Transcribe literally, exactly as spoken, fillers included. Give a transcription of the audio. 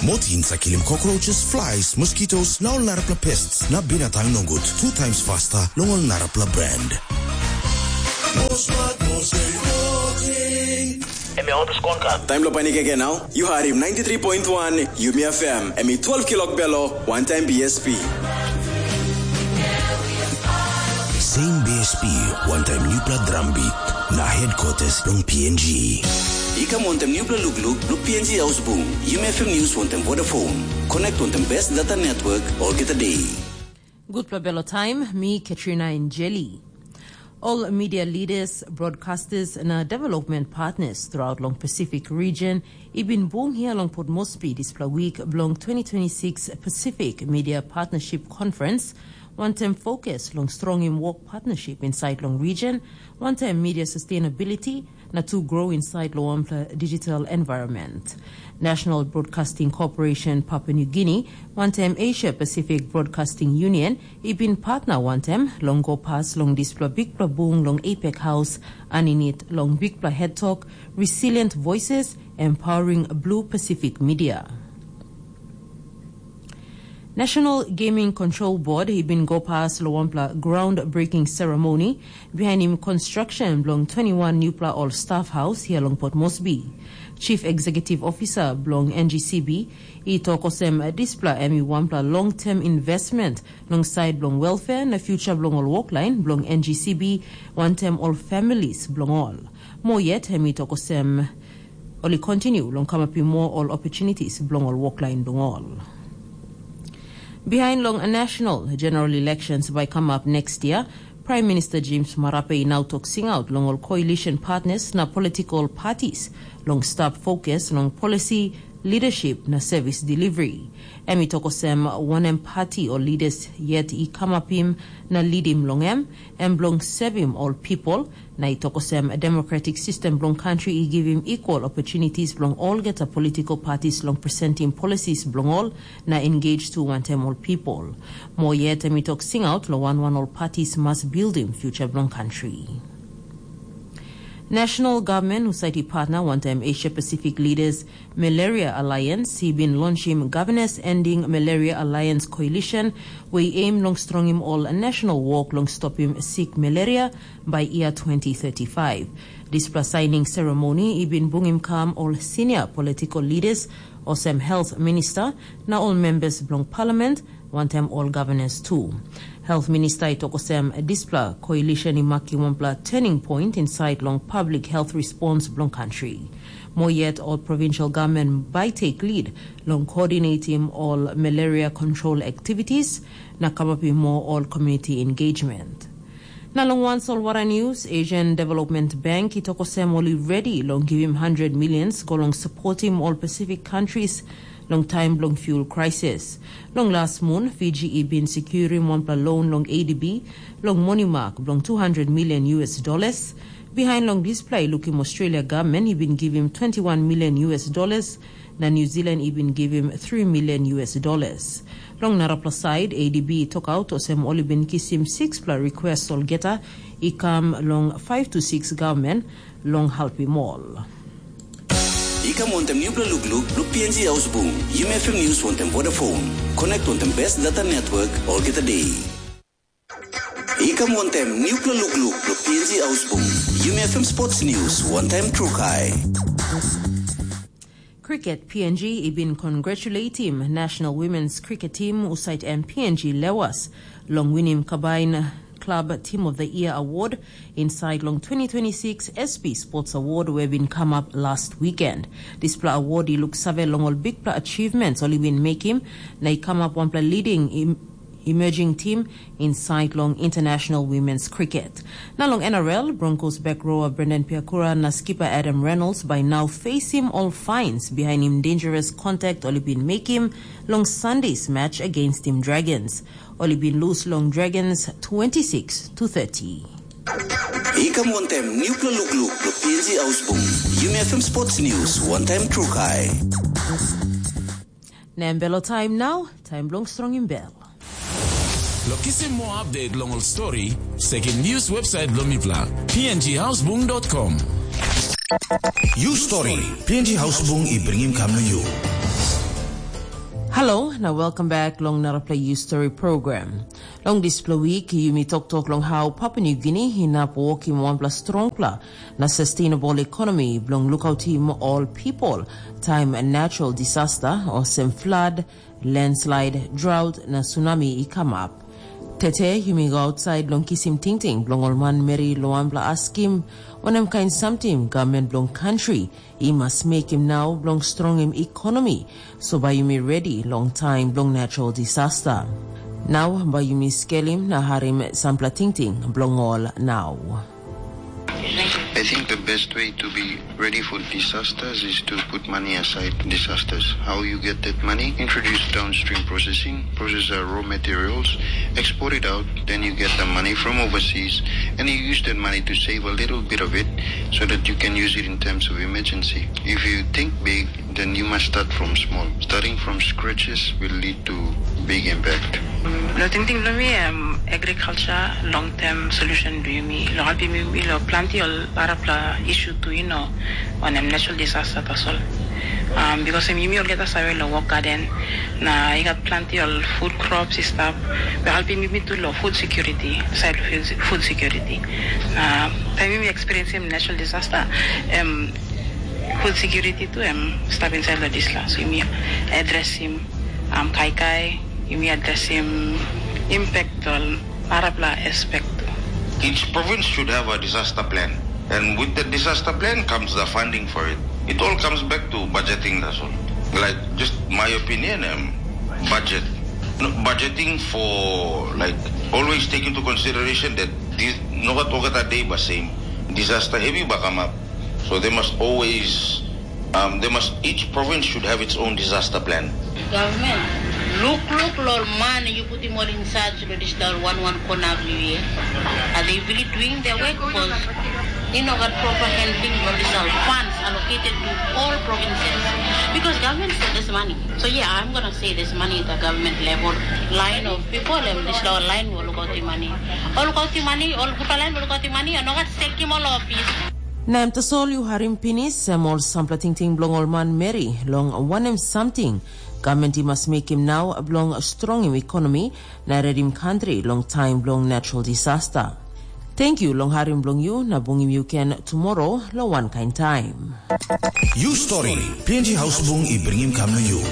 Motins sa kilim cockroaches, flies, mosquitoes, na ol narapela pests na binatang nogut two times faster long ol narapela brand. Em i on the scorecard. Taim lo panik ege nau, yu harim ninety-three point one Yumi F M, em i twelve kilok belo, one time B S P. Same B S P, one time nupla drum beat, na headquarters long P N G. I kam wantem nupla lukluk, luk P N G Ausbung, Yumi F M News wantem Vodafone. Connect wantem best data network, olgeta day. Gutpela belo taim, mi Katrina Injeli. All media leaders, broadcasters na development partners throughout long Pacific region i bin bung hia long Port Moresby dispela wik bilong twenty twenty-six Pacific Media Partnership Conference, wantaim fokus long strongim work partnership inside long region, wantaim media sustainability, na tu grow inside long wanpela digital environment. National Broadcasting Corporation Papua New Guinea, wantaim Asia Pacific Broadcasting Union, i bin partner wantaim long go pas long dispela bikpela bung long APEC House, aninit long bikpela head talk, Resilient Voices, Empowering Blue Pacific Media. National Gaming Control Board i bin go pas long wanpela groundbreaking ceremony bihainim construction bilong twenty-one nupela ol staff house hia long Port Moresby. Chief Executive Officer bilong N G C B i tok olsem dispela em i wanpela long-term investment long side bilong welfare na future bilong ol woklain bilong N G C B wantaim ol families bilong ol. Mo yet em i tok olsem ol i continue long kamapim moa ol opportunities bilong ol woklain bilong ol. Behind long national general elections by come up next year, Prime Minister James Marape i now tok singaut long ol coalition partners na political parties long stap focus long policy, leadership na service delivery. Em i tok olsem wanem party o leaders yet i kamapim na leadim long em, em bilong sevim ol people, na i tok olsem democratic system bilong country i givim equal opportunities bilong olgeta political parties long presenting policies bilong ol na engage tu wantaim ol people. Mo yet em i tok singaut long wan wan ol parties mas buildim future bilong country. National Government husat i partner wantaim Asia Pacific Leaders Malaria Alliance i bin lonchim Governors Ending Malaria Alliance Coalition, we aim long strongim ol national work long stopim sik malaria by year twenty thirty-five. Dispela signing ceremony i bin bungim kam ol senior political leaders, olsem health minister, na ol members bilong parliament, wantaim ol governors tu. Health minister i tok olsem dispela coalition i makim wanpela turning point inside long public health response bilong country. Mo yet ol provincial government bai take lead long coordinating ol malaria control activities na kamapim more ol community engagement. Na long wan solwara news, Asian Development Bank i tok olsem ol i ready long givim hundred millions go long supportim ol Pacific countries long taim bilong fuel crisis. Long las mun, Fiji i bin securim wanpela loan long A D B long moni mak bilong two hundred million U S dollars. Behind long dispela i lukim Australia government i bin givim twenty-one million U S dollars, na New Zealand i bin givim three million U S dollars. Long narapela side, A D B i tokaut olsem ol i bin kisim sixpela request olgeta i kam long five to six government long helpim ol. I kam wantem nupela lukluk, luk P N G Ausbung, Yumi F M News wantem Vodafone. Connect wantem best data network, olgeta day. I kam wantem nupela lukluk, luk P N G Ausbung, Yumi F M Sports News, wantaim Trukai. Cricket, P N G i bin congratulatim National Women's Cricket Team, usait em P N G Lewas, long winim Kabain Club Team of the Year Award inside long twenty twenty-six S P Sports Award we bin come up last weekend. Dispela award i luk save long ol bikpela achievements ol i bin mekim, na i come up wanpela leading im emerging team inside long international women's cricket. Na long N R L, Broncos back rower Brendan Piakura na skipper Adam Reynolds by now facing all fines behind him dangerous contact ol i bin mekim long Sunday's match against him Dragons. Ol i bin lose long Dragons twenty-six to thirty. I kam wantem nupela lukluk bilong P N G Ausbung. Yumi F M Sports News, wantaim Trukai. Na em belo taim nau, taim bilong strongim bel. Lo kisim more update long ol story, sekim news website bilong mipela, P N G Hausbung dot com. You story, P N G Hausbung i bringim kam na you. Hello, na welcome back long narapela You Story program. Long dispela week, yumi toktok long how Papua New Guinea inap wokim wanpela strongpela na sustainable economy bilong lukautim all people time natural disaster olsem flood, landslide, drought na tsunami i come up. Tete yumi go outside long kisim tingting bilong ol manmeri long wanpela askim wanem kain samting government bilong country i mas mekim nau bilong strongim economy, so bai yumi ready long time bilong natural disaster. Nau bai yumi skelim na harim sampela tingting bilong ol nau. I think the best way to be ready for disasters is to put money aside for disasters. How you get that money? Introduce downstream processing, process our raw materials, export it out, then you get the money from overseas, and you use that money to save a little bit of it so that you can use it in times of emergency. If you think big, then you must start from small. Starting from scratches will lead to big impact. Lo tingting bilong mi, um, agriculture long term solution bilong mi. Lo helpim mi lo planti ol arapla issue tu, you know, on um, natural disaster tasol. Um, because um, yumi olgeta save lo work garden, na i gat planti ol food crops i stap. Lo helpim mi tu lo food security, side of food security. Uh, time yumi experience natural disaster, um, food security tu em stap inside lo disla. So yumi addressim um, kaikai, yumi addressim impact ol arapla aspect tu. Each province should have a disaster plan. And with the disaster plan comes the funding for it. It all comes back to budgeting, that's all. Like, just my opinion, um, budget. No, budgeting for, like, always take into consideration that this, no gat olgeta day ba same. Disaster heavy ba come up. So they must always, um, they must, each province should have its own disaster plan. Government, look, look, lo man, you put him all in charge lo digital one one kona view. Are they really doing their work? Because you know got proper handling of digital funds allocated to all provinces. Because government said this money. So yeah, I'm gonna say this money at the government level. Line of people, um, this lo line will go the money. All go the money, all good line will go the money, and not taking all office. Na em tasol yu harim pinis, em ol sampela tingting bilong ol manmeri, long wanem samting government i mas mekim nau bilong strongim ekonomi na redim kantri long taim bilong natural disaster. Thank you long harim bilong yu na bungim yu ken tomorrow long wankain taim. You Story, P N G Hausbung i bringim kam na you.